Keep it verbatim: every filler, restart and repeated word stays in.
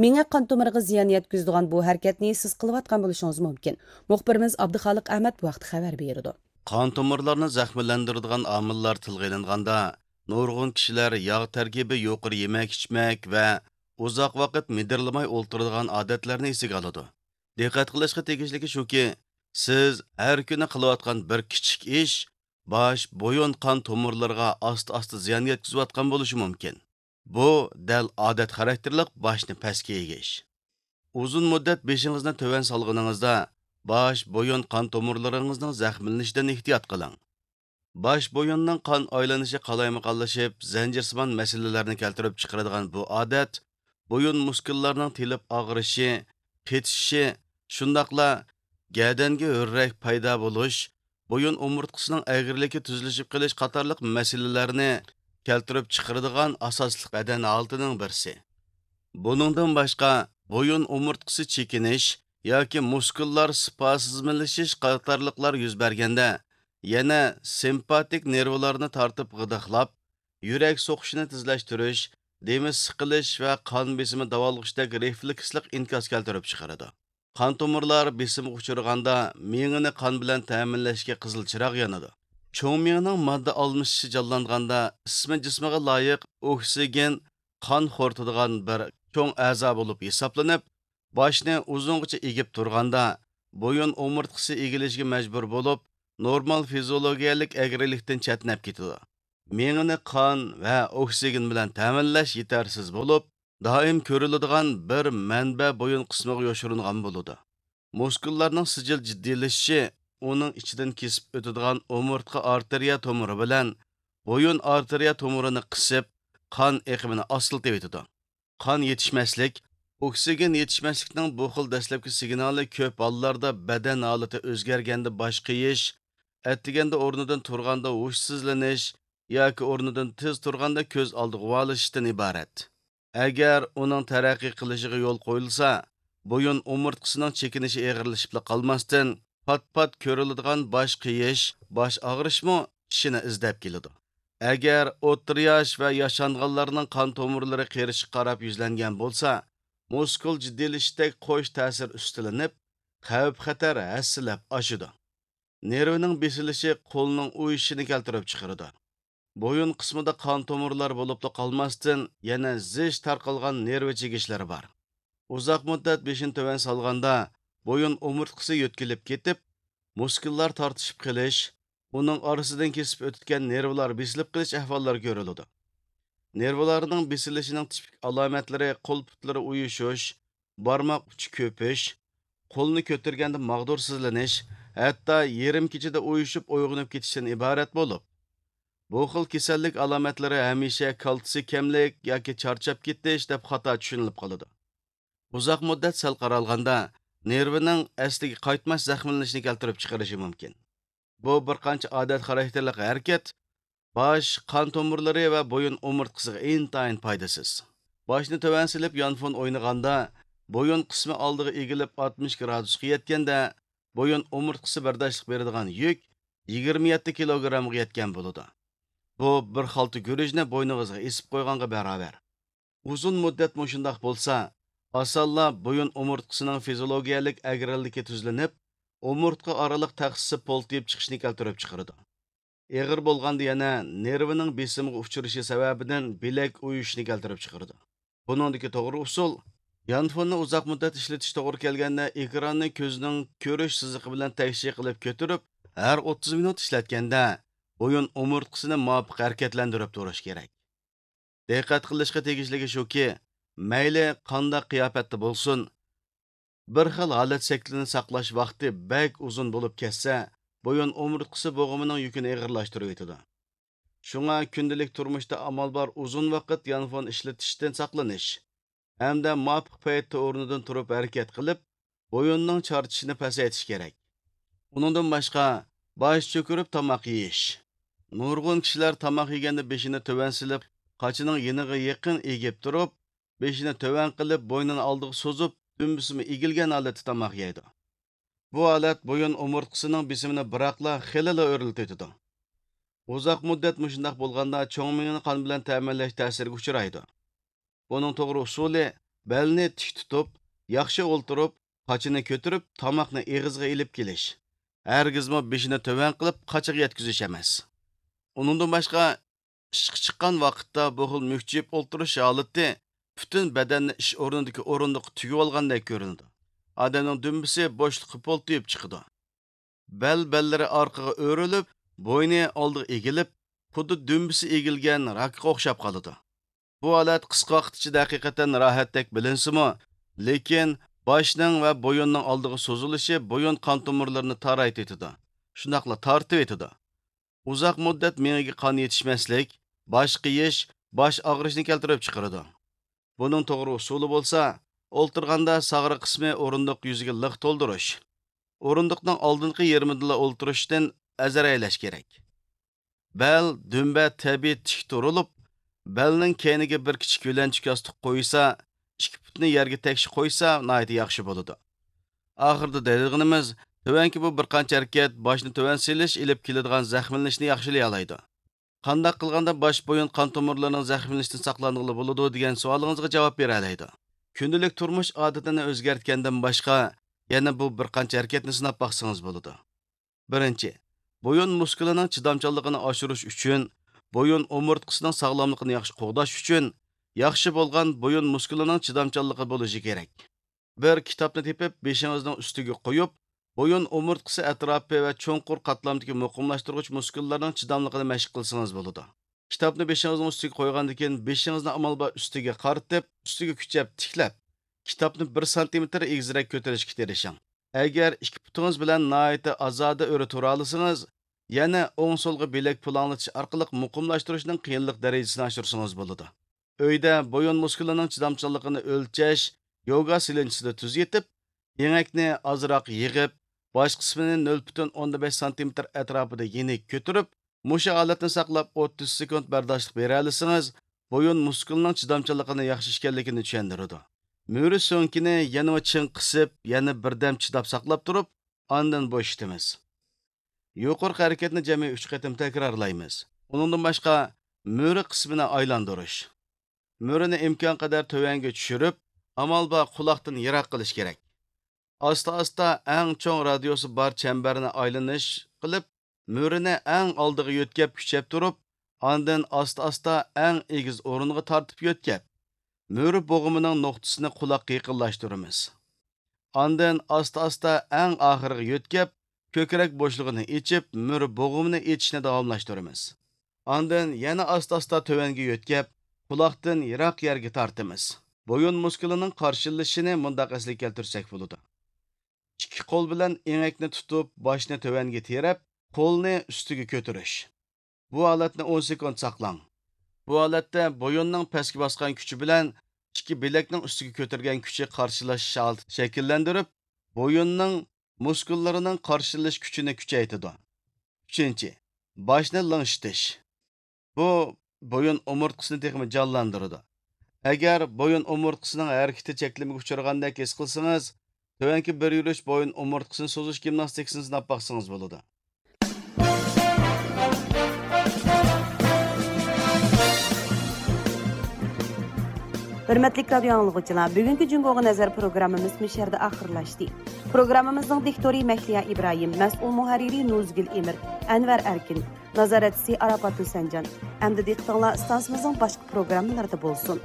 مېڭە قان تومۇرىغا زىيان يەتكۈزىدىغان بۇ ھەرىكەتنى سىز قىلىۋاتقان بولۇشىڭىز مۇمكىن. مۇخبىرىمىز ئابدۇخالىق ئەمەت بۇ ھەقتە خەۋەر بېرىدۇ. قان تومۇرلارنى زەخىملەندۈرىدىغان ئامىللار تىلغا ئېلىنغاندا، نۇرغۇن كىشىلەر ياغ تەركىبى يۇقىرى يېمەك-ئىچمەك ۋە ئۇزاق ۋاقىت مىدىرلىماي ئولتۇرىدىغان ئادەتلەرنى ئېسىگە ئالىدۇ. دىققەت قىلىشقا تېگىشلىكى شۇكى، سىز ھەر كۈنى قىلىۋاتقان بىر كىچىك ئىش باش، بويۇن قان تومۇرلىرىغا ئاستا-ئاستا زىيان يەتكۈزۈۋاتقان بولۇشى مۇمكىن. بۇ دەل ئادەت خاراكتېرلىق باشنى پەسكە ئېگىش. ئۇزۇن مۇددەت بېشىڭىزنى تۆۋەن سالغىنىڭىزدا، باش، بويۇن قان تومۇرلىرىڭىزنىڭ زەخىملىنىشىدىن ئېھتىيات قىلىڭ. باش، بويۇننىڭ قان ئايلىنىشى قالايمىقانلىشىپ، زەنجىرسىمان مەسىلىلەرنى كەلتۈرۈپ چىقىرىدىغان بۇ ئادەت، بويۇن مۇسكۇللارنىڭ تېلىپ ئاغرىشى، قېتىشىشى، شۇنداقلا گەدەنگە ھۆررەك پەيدا بولۇش، بويۇن ئومۇرتقىسىنىڭ ئەگرىلىكى تۈزلىشىپ قېلىش قاتارلىق مەسىلىلەرنى كەلتۈرۈپ چىقىرىدىغان ئاساسلىق بەدەن ھالىتىنىڭ بىرسى. بۇنىڭدىن باشقا، بويۇن ئومۇرتقىسى چېكىنىش ياكى مۇسكۇللار سپازملىشىش قاتارلىقلار يۈز بەرگەندە، يەنە سىمپاتىك نېرۋىلارنى تارتىپ غىدىقلاپ، يۈرەك سوقۇشىنى تېزلەشتۈرۈش، دېمى سىقىلىش ۋە قان بېسىمى داۋالغۇشتەك رېفلېكسلىق ئىنكاس كەلتۈرۈپ چىقىرىدۇ. قان تومۇرلار بېسىمغا ئۇچرىغاندا، مېڭىنى قان بىلەن تەمىنلەشكە قىزىل چىراغ يانىدۇ. چوڭ مېڭىنىڭ ماددا ئالمىشىشى جانلانغاندا، ئىسمى جىسمىغا لايىق ئوكسىگېن قان خورىتىدىغان بىر چوڭ ئەزا بولۇپ ھېسابلىنىپ، باشنى ئۇزۇنغىچە ئېگىپ تۇرغاندا، بويۇن ئومۇرتقىسى ئېگىلىشكە مەجبۇر بولۇپ، نورمال فىزىئولوگىيەلىك ئەگرىلىكتىن چەتنەپ كېتىدۇ. مېڭىنى قان ۋە ئوكسىگېن بىلەن تەمىنلەش يېتەرسىز بولۇپ، دائىم كۆرۈلىدىغان بىر مەنبە بويۇن قىسمىغا يوشۇرۇنغان بولىدۇ. مۇسكۇللارنىڭ سىجىل جىددىيلىشىشى ئۇنىڭ ئىچىدىن كېسىپ ئۆتىدىغان ئومۇرتقا ئارتېرىيە تومۇرى بىلەن بويۇن ئارتېرىيە تومۇرىنى قىسىپ، قان ئېقىمىنى ئاستىلىتىۋېتىدۇ. قان يېتىشمەسلىك، ئوكسىگېن يېتىشمەسلىكنىڭ بۇ خىل دەسلەپكى سىگنالى كۆپ ھاللاردا بەدەن ھالىتى ئۆزگەرگەندە باش قېيىش، ئەتىگەندە ئورنىدىن تۇرغاندا ھوشسىزلىنىش ياكى ئورنىدىن تېز تۇرغاندا كۆز ئالدى غۇۋالىشىشتىن ئىبارەت. ئەگەر ئۇنىڭ تەرەققىي قىلىشىغا يول قويۇلسا، بويۇن ئومۇرتقىسىنىڭ چېكىنىشى ئېغىرلىشىپلا قالماستىن، پات-پات كۆرۈلىدىغان باش قېيىش، باش ئاغرىشمۇ كىشىنى ئىزدەپ كېلىدۇ. ئەگەر ئوتتۇرا ياش ۋە ياشانغانلارنىڭ قان تومۇرلىرى قېرىشقا قاراپ يۈزلەنگەن بولسا، مۇسكۇل جىددىيلىشىشتەك قوش تەسىر ئۈستىلىنىپ، خەۋپ-خەتەر ھەسسىلەپ ئاشىدۇ. نېرۋىنىڭ بېسىلىشى قولنىڭ ئۇيۇشۇشىنى كەلتۈرۈپ چىقىرىدۇ. بويۇن قىسمىدا قان تومۇرلار بولۇپلا قالماستىن، يەنە زىچ تارقالغان نېرۋا چىگىشلىرى بار. ئۇزاق مۇددەت بېشىنى تۆۋەن سالغاندا، بويۇن ئومۇرتقىسى يۆتكىلىپ كېتىپ، مۇسكۇللار تارتىشىپ قېلىش، ئۇنىڭ ئارىسىدىن كېسىپ ئۆتىدىغان نېرۋىلار بېسىلىپ قېلىش ئەھۋاللىرى كۆرۈلىدۇ. نېرۋىلارنىڭ بېسىلىشىنىڭ تىپىك ئالامەتلىرى قول-پۇتلىرى ئۇيۇشۇش، بارماق ئۇچى كۆپۈش، قولنى كۆتۈرگەندە ماغدۇرسىزلىنىش، ھەتتا يېرىم كېچىدە ئۇيۇشۇپ ئويغىنىپ كېتىشتىن ئىبارەت بولۇپ، بۇ خىل كېسەللىك ئالامەتلىرى ھەمىشە كالتسىي كەملىك ياكى چارچاپ كېتىش دەپ خاتا چۈشىنىلىپ قالىدۇ. ئۇزاق مۇددەت سەل قارالغاندا، نېرۋىنىڭ ئەسلىگە قايتماس زەخىملىنىشىنى كەلتۈرۈپ چىقىرىشى مۇمكىن. بۇ بىر قانچە ئادەت خاراكتېرلىق ھەرىكەت باش، قان تومۇرلىرى ۋە بويۇن ئومۇرتقىسىغا ئىنتايىن پايدىسىز. باشنى تۆۋەن سېلىپ يانفون ئوينىغاندا، بويۇن قىسمى ئالدىغا ئېگىلىپ ئاتمىش گرادۇسقا يەتكەندە، بويۇن ئومۇرتقىسى بەرداشلىق بېرىدىغان يۈك يىگىرمە يەتتە كىلوگرامغا يەتكەن بولىدۇ. بۇ بىر خالتا گۈرۈچنى بوينىڭىزغا ئېسىپ قويغانغا باراۋەر. ئۇزۇن مۇددەت مۇشۇنداق بولسا، ئاسانلا بويۇن ئومۇرتقىسىنىڭ فىزىولوگىيەلىك ئەگرىلىكى تۈزلىنىپ، ئومۇرتقا ئارىلىق تەخسىسى پولتىيىپ چىقىشنى كەلتۈرۈپ چىقىرىدۇ. ئېغىر بولغاندا يەنە نېرۋىنىڭ بېسىمىغا ئۇچرىشى سەۋەبىدىن بىلەك ئۇيۇشۇشنى كەلتۈرۈپ چىقىرىدۇ. بۇنىڭدىكى توغرا ئۇسۇل، يانفوننى ئۇزاق مۇددەت ئىشلىتىش توغرا كەلگەندە، ئېكراننى كۆزنىڭ كۆرۈش سىزىقى بىلەن تەكشى قىلىپ كۆتۈرۈپ، ھەر ئوتتۇز مىنۇت ئىشلەتكەندە، بويۇن ئومۇرتقىسىنى مۇۋاپىق ھەرىكەتلەندۈرۈپ تۇرۇش كېرەك. دىققەت قىلىشقا تېگىشلىكى شۇكى، مەيلى قانداق قىياپەتتە بولسۇن، بىر خىل ھالەت شەكلىنى ساقلاش ۋاقتى بەك ئۇزۇن بولۇپ كەتسە، بويۇن ئومۇرتقىسى بوغۇمىنىڭ يۈكىنى ئېغىرلاشتۇرۇۋېتىدۇ. شۇڭا كۈندىلىك تۇرمۇشتا ئامال بار ئۇزۇن ۋاقىت يانفون ئىشلىتىشتىن ساقلىنىش ھەمدە مۇۋاپىق پەيتتە ئورنىدىن تۇرۇپ ھەرىكەت قىلىپ، بويۇننىڭ چارچىشىنى پەسەيتىش كېرەك. ئۇنىڭدىن باشقا، باش چۆكۈرۈپ تاماق يېيىش. نۇرغۇن كىشىلەر تاماق يېگەندە بېشىنى تۆۋەن سېلىپ، قاچىنىڭ يېنىغا يېقىن ئېگىپ تۇرۇپ، بېشىنى تۆۋەن قىلىپ، بوينىنى ئالدىغا سوزۇپ، دۈمبىسىمۇ ئېگىلگەن ھالەتتە تاماق يەيدۇ. بۇ ھالەت بويۇن ئومۇرتقىسىنىڭ بېسىمىنى بىراقلا خېلىلا ئۆرلىتىۋېتىدۇ. ئۇزاق مۇددەت مۇشۇنداق بولغاندا، چوڭ مېڭىنى قان بىلەن تەمىنلەش تەسىرىگە ئۇچرايدۇ. بۇنىڭ توغرا ئۇسۇلى، بەلنى تىك تۇتۇپ، ياخشى ئولتۇرۇپ، قاچىنى كۆتۈرۈپ، تاماقنى ئېغىزغا ئېلىپ كېلىش. ھەرگىزمۇ بېشىنى تۆۋەن قىلىپ، قاچىغا يەتكۈزۈش ئەمەس. ئۇنىڭدىن باشقا، ئىشقا چىققان ۋاقىتتا بۇ خىل مۈكچىيىپ ئولتۇرۇش ھالىتى پۈتۈن بەدەننى ئىش ئورنىدىكى ئورۇندۇققا تۈگۈۋالغاندەك كۆرۈنىدۇ. ئادەمنىڭ دۈمبىسى بوشلۇققا پولتىيىپ چىقىدۇ. بەل بەللىرى ئارقىغا ئۆرۈلۈپ، بوينى ئالدىغا ئېگىلىپ، خۇددى دۈمبىسى ئېگىلگەن راكقا ئوخشاپ قالىدۇ. بۇ ھالەت قىسقا ۋاقىت ئىچىدە ھەقىقەتەن راھەتتەك بىلىنسىمۇ، لېكىن باشنىڭ ۋە بويۇننىڭ ئالدىغا سوزۇلۇشى بويۇن قان تومۇرلىرىنى تارايتىۋېتىدۇ، شۇنداقلا تارتىۋېتىدۇ. ئۇزاق مۇددەت مېڭىگە قان يېتىشمەسلىك، باش قېيىش، باش ئاغرىشنى كەلتۈرۈپ چىقىرىدۇ. بۇنىڭ توغرا ئۇسۇلى بولسا، ئولتۇرغاندا ساغرا قىسمى ئورۇندۇق يۈزىگە لىق تولدۇرۇش. ئورۇندۇقنىڭ ئالدىنقى يېرىمىدىلا ئولتۇرۇشتىن ئەزەر ئەيلەش كېرەك. بەل، دۈمبە تەبىئىي تىك تۇرۇلۇپ، بەلنىڭ كەينىگە بىر كىچىك يۆلەنچۈك ياستۇق قويسا، ئىككى پۇتنى يەرگە تەكشى قويسا، ناھايىتى ياخشى بولىدۇ. ئاخىرىدا دەيدىغىنىمىز، تۆۋەنكى بۇ بىر قانچە ھەرىكەت باشنى تۆۋەن سېلىش ئېلىپ كېلىدىغان زەخىملىنىشنى ياخشىلىيالايدۇ. قانداق قىلغاندا باش بويۇن قان تومۇرلىرىنىڭ زەخىملىنىشتىن ساقلانغىلى بولىدۇ دېگەن سوئالىڭىزغا جاۋاب بېرەلەيدۇ. كۈندىلىك تۇرمۇش ئادىتىنى ئۆزگەرتكەندىن باشقا، يەنە بۇ بىر قانچە ھەرىكەتنى سىناپ باقسىڭىز بولىدۇ. بىرىنچى، بويۇن مۇسكۇلىنىڭ چىدامچانلىقىنى ئاشۇرۇش ئۈچۈن، بويۇن ئومۇرتقىسىنىڭ ساغلاملىقىنى ياخشى قوغداش ئۈچۈن، ياخشى بولغان بويۇن مۇسكۇلىنىڭ چىدامچانلىقى بولۇشى كېرەك. بىر كىتابنى تېپىپ، بېشىڭىزنىڭ ئۈستىگە قويۇپ، بويۇن ئومۇرتقىسى ئەتراپى ۋە چوڭقۇر قاتلامدىكى مۇقىملاشتۇرغۇچ مۇسكۇللارنىڭ چىداملىقىنى مەشىق قىلسىڭىز بولىدۇ. كىتابنى بېشىڭىزنىڭ ئۈستىگە قويغاندىن كېيىن، بېشىڭىزنى ئامال بار ئۈستىگە قارىتىپ، ئۈستىگە كۈچەپ تىكلەپ، كىتابنى بىر سانتىمېتىر ئېگىزرەك كۆتۈرۈشكە تىرىشىڭ. ئەگەر ئىككى پۇتىڭىز بىلەن ناھايىتى ئازادە ئۆرە تۇرالىسىڭىز، يەنە ئوڭ-سولغا بىلەك پۇلاڭلىتىش ئارقىلىق مۇقىملاشتۇرۇشنىڭ قىيىنلىق دەرىجىسىنى ئاشۇرسىڭىز بولىدۇ. ئۆيدە بويۇن مۇسكۇلىنىڭ چىدامچانلىقىنى ئۆلچەش يوگا سېلىنچىسىدا تۈز يېتىپ، ئېڭەكنى ئازراق يىغىپ، باش قىسمىنى نۆل پۈتۈن ئوندىن بەش سانتىمېتىر ئەتراپىدا يېنىك كۆتۈرۈپ، مۇشۇ ھالەتنى ساقلاپ ئوتتۇز سېكۇنت بەرداشلىق بېرەلىسىڭىز، بويۇن مۇسكۇلىنىڭ چىدامچانلىقىنىڭ ياخشى ئىكەنلىكىنى چۈشەندۈرىدۇ. مۈرە سۆڭىكىنى يەنىمۇ چىڭ قىسىپ، يەنە بىردەم چىداپ ساقلاپ تۇرۇپ، ئاندىن بوشىتىمىز. يۇقىرىقى ھەرىكەتنى جەمئىي ئۈچ قېتىم تەكرارلايمىز. ئۇنىڭدىن باشقا، مۈرە قىسمىنى ئايلاندۇرۇش. مۈرىنى ئىمكانقەدەر تۆۋەنگە چۈشۈرۈپ، ئامال بار قۇلاقتىن يىراق قىلىش كېرەك. ئاستا-ئاستا ئەڭ چوڭ رادىيۇسى بار چەمبەرنى ئايلىنىش قىلىپ، مۈرىنى ئەڭ ئالدىغا يۆتكەپ كۈچەپ تۇرۇپ، ئاندىن ئاستا-ئاستا ئەڭ ئېگىز ئورۇنغا تارتىپ يۆتكەپ، مۈرە بوغۇمىنىڭ نۇقتىسىنى قۇلاققا يېقىنلاشتۇرىمىز. ئاندىن ئاستا-ئاستا ئەڭ ئاخىرىغا يۆتكەپ، كۆكرەك بوشلۇقىنى ئېچىپ، مۈرە بوغۇمىنى ئېچىشنى داۋاملاشتۇرىمىز. ئاندىن يەنە ئاستا-ئاستا تۆۋەنگە يۆتكەپ، قۇلاقتىن يىراق يەرگە تارتىمىز. بويۇن مۇسكۇلىنىڭ قارشىلىشىشىنى مۇنداق ئەسلىگە كەلتۈرسەك بولىدۇ. ئىككى قول بىلەن ئېڭەكنى تۇتۇپ، باشنى تۆۋەنگە تىرەپ، قولنى ئۈستىگە كۆتۈرۈش. بۇ ھالەتنى ئون سېكۇنت ساقلاڭ. بۇ ھالەتتە بويۇننىڭ پەسكە باسقان كۈچى بىلەن ئىككى بىلەكنىڭ ئۈستىگە كۆتۈرگەن كۈچى قارشىلاشىش ھالىتى شەكىللەندۈرۈپ، بويۇننىڭ مۇسكۇللىرىنىڭ قارشىلىنىش كۈچىنى كۈچەيتىدۇ. ئۈچىنچى، باشنى لىڭشىتىش. بۇ بويۇن ئومۇرتقىسىنى تېخىمۇ جانلاندۇرىدۇ. ئەگەر بويۇن ئومۇرتقىسىنىڭ ھەرىكىتى چەكلىمىگە ئۇچرىغاندەك ھېس قىلسىڭىز، تۆۋەنكى بىر يۈرۈش بويۇن ئومۇرتقىسىنى سوزۇش گىمناستىكىسىنى سىناپ باقسىڭىز بولىدۇ. ھۆرمەتلىك رادىيو ئاڭلىغۇچىلار، بۈگۈنكى جۇڭگوغا نەزەر پروگراممىمىز مۇشۇ يەردە ئاخىرلاشتى. پروگراممىمىزنىڭ دىكتورى مەھلىيا ئىبراھىم، مەسئۇل مۇھەررىرى نۇزگۈل ئېمىر، ئەنۋەر ئەركىن، نازارەتچىسى ئاراپات ھۈسەنجان. ئەمدى دىققىتىڭلار ئىستانسىمىزنىڭ باشقا پروگراممىلىرىدا بولسۇن.